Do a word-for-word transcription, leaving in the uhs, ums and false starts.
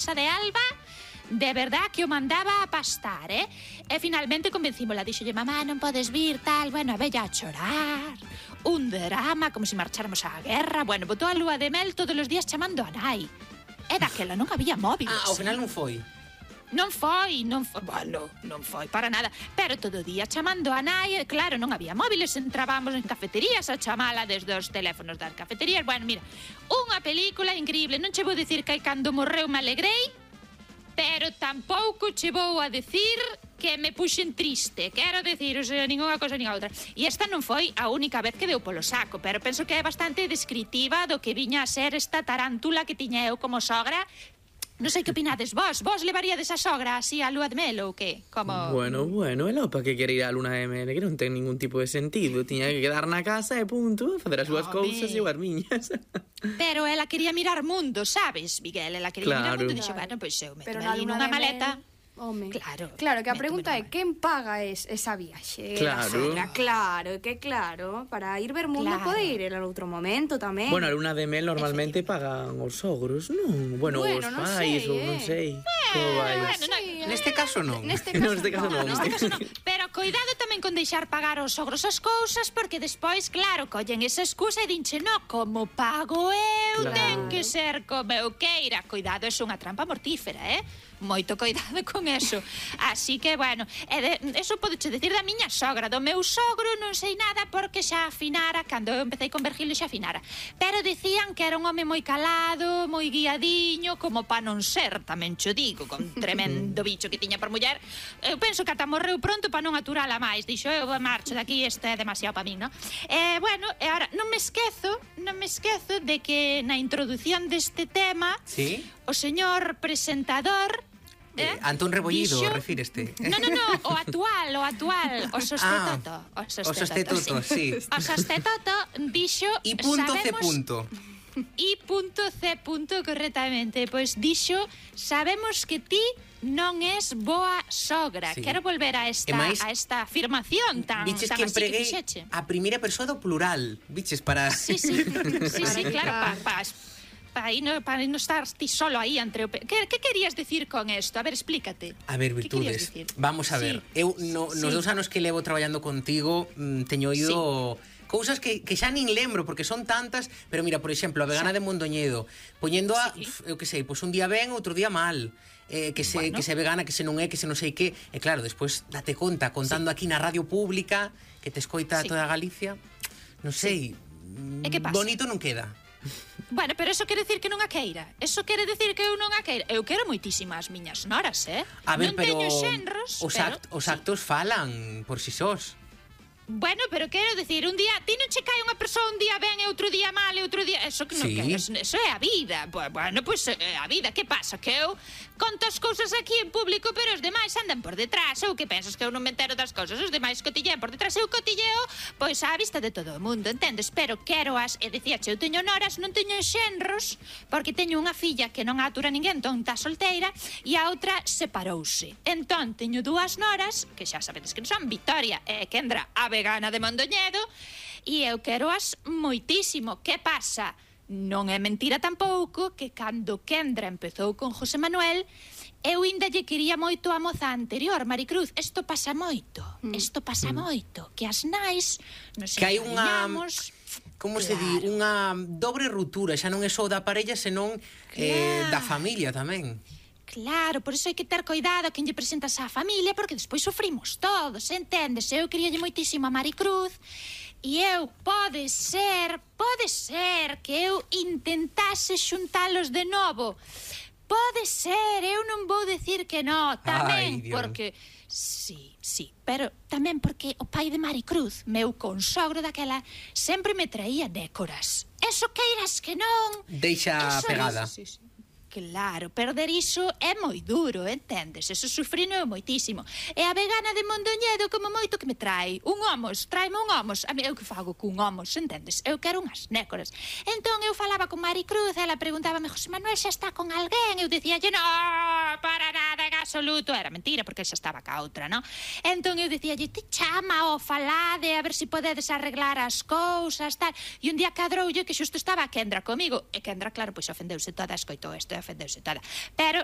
de Alba, de verdad que o mandaba a pastar, eh? E finalmente convencímola, dixolle, mamá, non podes vir, tal, bueno, a vella a chorar, un drama, como se marcháramos á guerra, bueno, botou a lúa de mel todos os días chamando a nai. E daquela non había móviles. Ah, ao final non foi. Non foi, non foi, bueno, non foi para nada, pero todo o día chamando a nai, claro, non había móviles, entrábamos en cafeterías a chamala desde os teléfonos das cafeterías. Bueno, mira, unha película increíble, non che vou dicir que cando morreu me alegrei, pero tampouco che vou a decir que me puxen triste, quero decir, o sea, ninguna cosa nin a outra. E esta non foi a única vez que deu polo saco, pero penso que é bastante descritiva do que viña a ser esta tarántula que tiña eu como sogra. Non sei que opinades vos. Vos levaríades a sogra así a lúa de mel ou que? Como... Bueno, bueno, e lopa que quere ir a luna de mel, que non ten ningún tipo de sentido. Tiña que quedar na casa e punto, facer as súas Home. cousas e as miñas. Pero ela quería mirar mundo, sabes, Miguel? Ela quería Claro. mirar mundo e dixo, bueno, pois eu meto Pero na ali luna nunha de maleta. mel, home. Claro. Claro, que a métome pregunta é nunha- quen paga es, esa viaxe? Claro. A sogra, claro, que claro, para ir ver mundo Claro. pode ir en outro momento tamén. Bueno, a luna de mel normalmente pagan os sogros, non? Bueno, Bueno, os non pais, sei, ou eh. non sei. Como vai? bueno, non- Sí, Neste caso non. Neste No, caso, neste caso non. Neste caso non. Pero coidado tamén con deixar pagar os sogros as cousas, porque despois, claro, collen esa excusa e dinche, no, como pago eu, Claro. ten que ser como eu queira. Coidado, é unha trampa mortífera, eh? Moito coidado con eso. Así que, bueno, e de, eso podeche decir da miña sogra. Do meu sogro non sei nada porque xa afinara, cando eu empecé con Virgilio xa afinara. Pero dicían que era un home moi calado, moi guiadiño, como pa non ser, tamén cho digo, con tremendo bicho que tiña por muller. Eu penso que ata morreu pronto pa non aturala máis. Dixo, eu marcho daqui, isto é demasiado pa min, non? E, bueno, e ahora, non me esquezo, non me esquezo de que na introdución deste tema, Sí? o señor presentador, Eh, eh, Antón Rebollido, dixo- refíreste. No, no, no, o actual, o actual, o sostetoto, o O sostetoto, sí. O sostetoto dixo, I punto C sabemos, punto. I punto C punto correctamente, pois dixo, sabemos que ti non es boa sogra. Sí. Quero volver a esta E máis, a esta afirmación tan Viches tan que así empreguei fixeche. a primeira persoa do plural. Viches para... Sí, sí, sí, sí, claro, pa, pa, pa, aí no, para non estar ti solo aí entre o... pe- Que, que querías decir con isto? A ver, explícate. A ver, Que querías virtudes. dicir? Vamos a ver. Sí. Eu no, nos Sí. dous anos que levo traballando contigo, mm, teño ido cousas que, que xa nin lembro porque son tantas, pero mira, por exemplo, a vegana de Mondoñedo, poñendo a, Sí. pf, eu que sei, pois un día ben, outro día mal. Eh, que se Bueno. que se vegana, que se non é, que se non sei que. E claro, despois date conta contando Sí. aquí na radio pública que te escoita Sí. toda Galicia. Non sei. E que pasa? Bonito non queda. Bueno, pero eso quere decir que non a queira. Eso quere decir que eu non a queira. Eu quero moitísimo as miñas noras, eh? A ver, non pero teño xenros, os, pero... act, os actos falan por si sós. Bueno, pero quero decir, un día, ti non che cae unha persoa un día ben e outro día mal e outro día... Eso que non Sí. quero, eso, eso é a vida. Bu- Bueno, pois pues, é a vida, que pasa? Que eu conto as cousas aquí en público, pero os demais andan por detrás. Ou que pensas que eu non me entero das cousas? Os demais cotillean por detrás. Eu cotilleo, pois á vista de todo o mundo, entendes? Pero quero as... E dicíache, eu teño noras, non teño xenros, porque teño unha filla que non atura ninguén, entón está solteira, e a outra separouse. Entón, teño dúas noras, que xa sabedes que son Victoria e Kendra, a vegana de Mondoñedo, e eu quero as moitísimo. Que pasa? Non é mentira tampouco que cando Kendra empezou con José Manuel, eu ainda lle quería moito a moza anterior, Maricruz. Isto pasa moito, isto pasa moito, que as nais nos Que hai unha... encariñamos. Como se di? Claro. Unha dobre ruptura. Xa non é só da parella, senón eh, Claro. da familia tamén. Claro, por iso hai que ter cuidado a quen lle presentas á familia, porque despois sufrimos todos, entendes? Eu queríalle moitísimo a Maricruz, e eu, pode ser, pode ser que eu intentase xuntalos de novo. Pode ser, eu non vou decir que no, tamén, Ai, Dios. porque... Sí, sí, pero tamén porque o pai de Maricruz, meu consogro daquela, sempre me traía décoras. Eso queiras que non... Deixa Eso pegada. sí, sí. Claro, perder iso é moi duro, entendes? Eso sufrino eu moitísimo. E a vegana de Mondoñedo, como moito que me trae un homos, tráeme un homos. A mí, eu que fago cun homos, entendes? Eu quero unhas nécoras. Entón eu falaba con Maricruz, ela preguntábame, José Manuel xa está con alguén? Eu dicía, no, para nada, gaso absoluto era mentira, porque xa estaba ca outra, non? Entón eu dicíalle, te chama o falade, a ver se podedes arreglar as cousas, tal. E un día cadroulle que xusto estaba a Kendra comigo, e Kendra, claro, pois ofendeuse toda, escoitou isto e ofendeuse toda. Pero